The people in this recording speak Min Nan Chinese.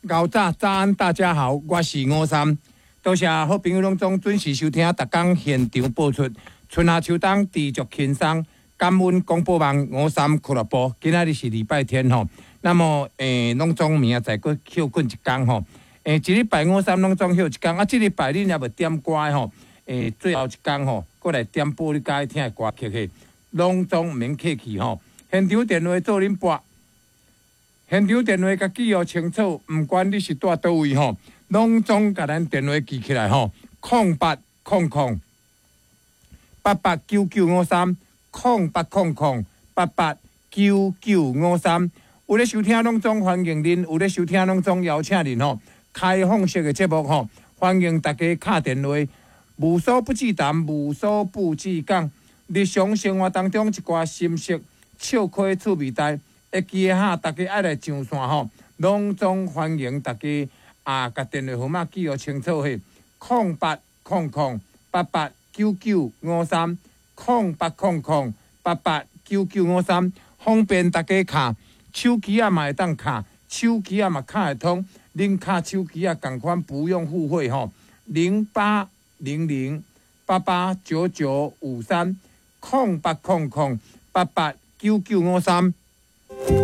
𠢕早早安，大家好，我是吳三，多謝好朋友攏總準時收聽，逐工現場播出春夏秋冬知足輕鬆，感恩廣播網吳三俱樂部。今仔日是禮拜天吼，那麼攏總明仔載閣歇睏一工吼，一禮拜吳三攏總歇一工，啊，這禮拜恁猶未點歌的吼，最後一工吼，閣來點播你佮意聽的歌曲嘿，攏總毋免客氣吼，現場電話做恁撥。現場電話共記予清楚，毋管你是蹛佗位吼，攏總共咱電話記起來吼，0800889953，0800889953。有咧收聽攏總歡迎恁，有咧收聽攏總邀請恁吼，開放式的節目吼，歡迎大家敲電話，無所不忌談，無所不忌講，日常生活當中一寡心事、笑詼趣味代。會記得哈，大家愛來上線吼，攏總歡迎大家啊！共電話號碼記予清楚嘿，0800889953，0800889953，方便大家敲，手機仔嘛會當敲，手機仔嘛敲會通，恁敲手機仔仝款不用付費吼，0800889953，0800889953。